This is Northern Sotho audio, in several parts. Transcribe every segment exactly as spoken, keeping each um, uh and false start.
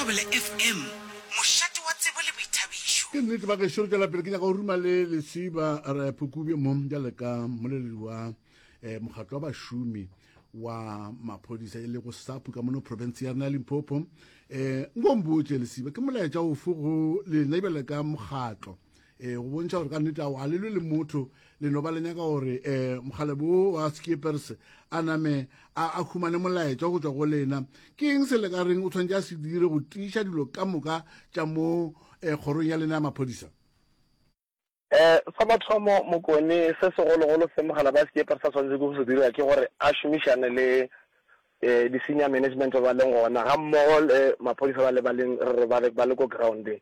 Thobela F M, mošate wa tsebo le boithabišo. Ke nnete ba gešo, re tšwela pele. Ke nyaka go ruma le Lesiba re Phukubje mo bjale ka mmoleledi wa um mokgatlo wa bašomi wa maphodisa, e lego SAPU ka mono province ya rena ya Limpopo. um nko mpotše Lesiba, ke molaetša ofe go lena bjale ka mokgatlo um go bontšha gore ka nnete ao ga le lwe le motho, le no ba le nyaka gore um mokgalebo wo wa Skeepers a name a a humane molaetša go tšwa go lena? Ke eng se le ka reng o tshwanetse a se dire go tiiša dilo ka moka tša mo um kgorong ya lena ya maphodisa? um Sa mathomo, Mokone, se segologolo se mogala ba Skeepers a tshwanetse go se dira ke gore a šomišane le um di-senior management ba ba leng gona, ga mmogo le maphodisa ba le ba leng re ba le ba le ko groundeng.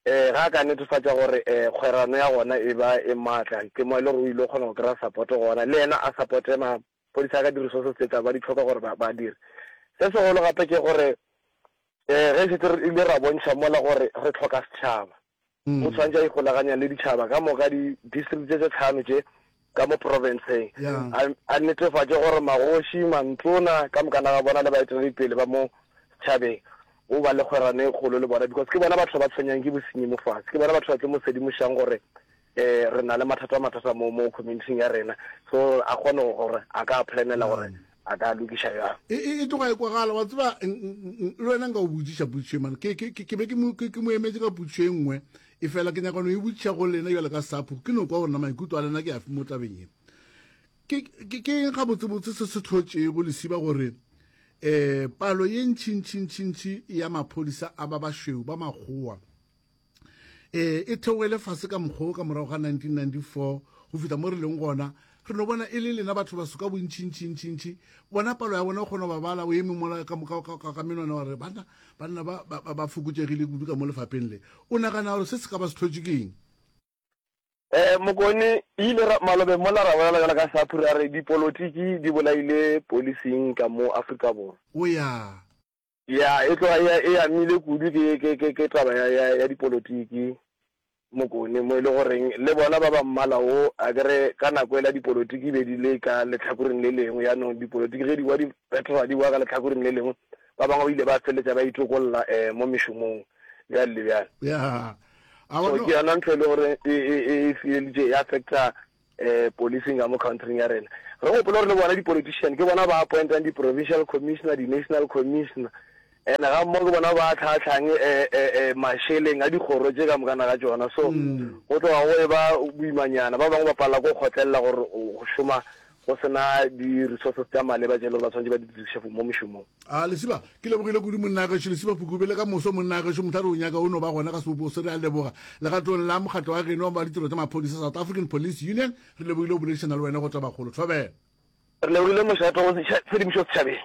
um Ga a ka netefatša gore um kgwerano ya gona e ba e maatla, ke mo e le gore o ile go kgona go kry-a support gona, le yena a supporte maphodisa ka di-resources tse tla ba di tlhoka gore ba ba dire. Se segolo gape ke gore um ge šetse re ile ra bontšha mola gore re tlhoka setšhaba, o tshwanetse a ikgolaganya le ditšhaba ka moka, di-district tše tše tlhano tše ka mo provinceng, a a netefatše gore magoši, mantona ka mokana ga bona le baeteledipele ba mo setšhabeng o ba le kgwerano e kgolo le bona, because ke bona batho ba tshwenyang ke bosenyi mo fase, ke bona batho ba tlo mo sedimošang gore um re na le mathata mathata mo mo community ya rena, so a kgone gore a ka planela gore a ka lokiša bjang. e e- e tloga e kwagala. Wa tseba, n- n- n- le wena nka o botšiša potšišo e mane, ke ke- ke- ke be ke mo ke- ke mo emetse ka potšišo e nngwe, e fela ke nyaka no e botšiša go lena bjale ka SAPU, ke no kwa gore na maikutlo a lena ke afe mo tabeng ye. Ke ke ke eng gabotsebotse se se tlhotšego, Lesiba, gore um palo ye ntšhintšhintšhintšhi ya maphodisa a ba bašweu, ba makgowa, um e theogele fase ka mokgwa ka morago ga nineteen ninety-four go fihla mo re leng gona, re no bona e le lena batho baso ka bontšhintšhintšhintšhi, bona palo ya bona o kgona go ba bala o eme mola ka ka- ka- ka- ka menwana, wa re banna banna ba ba- ba ba fokotšegile kudu ka mo lefapheng le? O nagana gore se se ka ba se tlhotše ke eng? um Mokone, ile ra malobe mola ra bolela jalo ka SAPU, ra re dipolotiki di bolaile policing ka mo Afrika Borwa. O ya. Ya, e tloga e e amile kudu ke ke ke ke taba ya ya ya dipolotiki, Mokone, mo e le goreng le bona ba ba mmala o a kere ka nako ela dipolotiki be di le ka letlhakoreng le lengwe. Yaanong dipolotiki ge di wa, di fetoga, di wa ka letlhakoreng le lengwe, ba bangwe ba ile ba feleletša ba itokolla um mo mešomong, bjale le bjale. Ya. So ke yona ntho e le gore e e e feleditše e affecta um policing ka mo countryng ya rena. Re gopole gore le bona di-politician ke bona ba appointang di-provincial commissioner, di-national commissioner, and ga mmogo ke bona ba tlhatlhang um mašeleng a dikgoro tše ka mokana ga tšona. So go tloga go e ba boimanyana, ba bangwe ba palela ko kgotlelela gore go šoma go sena di-resources tša maleba tše e le gore ba tshwanetse ba di diriše mo mošomong. A Lesiba, ke lebogile kudu, monna gešo Lesiba Phukube. Le ka moso, monna gešo, mohla re o nyaka o no ba gona ka sebopo se. Re a leboga legatong la mokgatlo wa geno wa ditiro tša maphodisa, South African Police Union. Re lebogile go boledišana le wena go Tabakgolo. Thobela. Re lebogile, mošato, go tshedimošo setšhabeng.